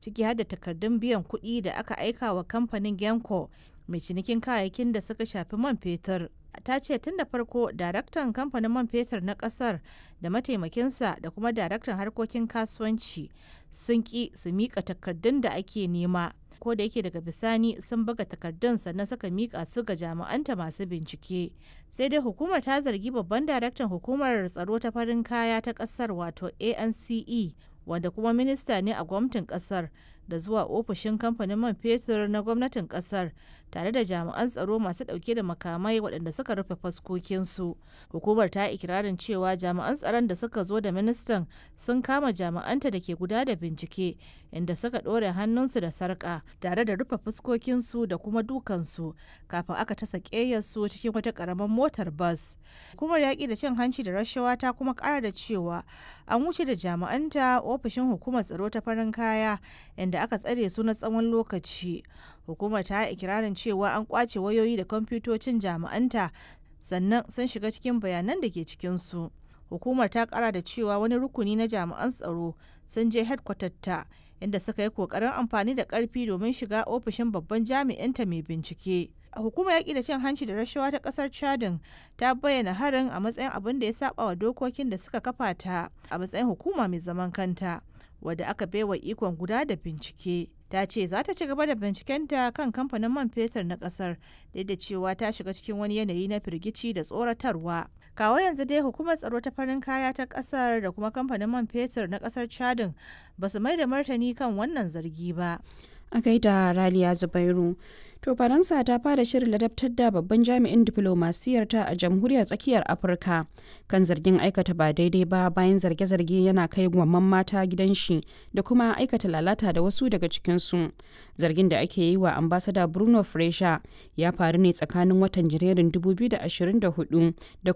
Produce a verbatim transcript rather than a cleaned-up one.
ciki har da takardun biyan kuɗi da aka aika wa kamfanin Genco mai cinikin kayayyakin da suka shafi man fetur. Ta ce tun da farko daraktan kamfanin man fetur na kasar da mataimakinsa da kuma daraktan harkokin kasuwanci sun ki su mika takardun da ake nema, ko da yake daga bisani sun buga takardun sannan suka mika su ga jami'anta masu bincike. Sai dai hukumar ta zargi babban daraktan hukumar tsaro ta farin kaya ta kasar, wato A N C E, wanda kuma minista ne a gwamnatin kasar, da zuwa ofishin kamfanin man fetur na gwamnatin kasar tare da jami'an tsaro masu dauke da makamai waɗanda suka rufe faskokinsu. Hukumar ta ikirarin cewa jami'an tsaron da suka zo da ministan sun kama jami'anta da ke guda da bincike, inda suka ɗore hannunsu da sarƙa tare da rufe fuskokinsu da kuma dukansu kafin aka tasa ƙeyarsu cikin wata ƙaramar motar bas. Hukumar yaƙi da cin hanci da rashawa ta kuma ƙara da cewa an wuce da jami'anta ofishin hukumar tsaro ta farin kaya, inda aka tsare su na tsawon lokaci. Hukumar ta yi ikirarin cewa an kwace wayoyi da kwamfutocin jami'anta sannan sun shiga cikin bayanan da ke cikinsu. Hukumar ta kara da cewa wani rukuni na jami'an tsaro sun je ta, inda suka yi kokarin amfani da karfi domin shiga ofishin babban jami'inta mai bincike. Hukumar yaƙi da cin hanci da rashawa ta ƙasar Chadin ta bayyana harin a matsayin abin da ya saba wa dokokin da suka kafa ta a matsayin hukuma mai zaman kanta wadda aka baiwa ikon guda da bincike. Ta ce za ta ci gaba da bincikenta kan kamfanin man fetur na kasar, duk da cewa ta shiga cikin wani yanayi na firgici da tsoratarwa. Kawo yanzu dai hukumar tsaro ta farin kaya ta kasar da kuma kamfanin man fetur na kasar Chadin ba su mai da martani kan wannan zargi ba. A gaida Raliya Zubairu. To, Faransa ta fara shirin ladabtar da babban jami'in diflomasiyar ta a Jamhuriyar Tsakiyar Afirka kan zargin aikata ba daidai ba, bayan zarge-zarge yana kai gwamman mata gidan shi da kuma aikata lalata da wasu daga cikinsu. Zargin da ake yi wa ambasada Bruno Fresha ya faru ne tsakanin watan Janairun dubu biyu da ashirin da hudu da kuma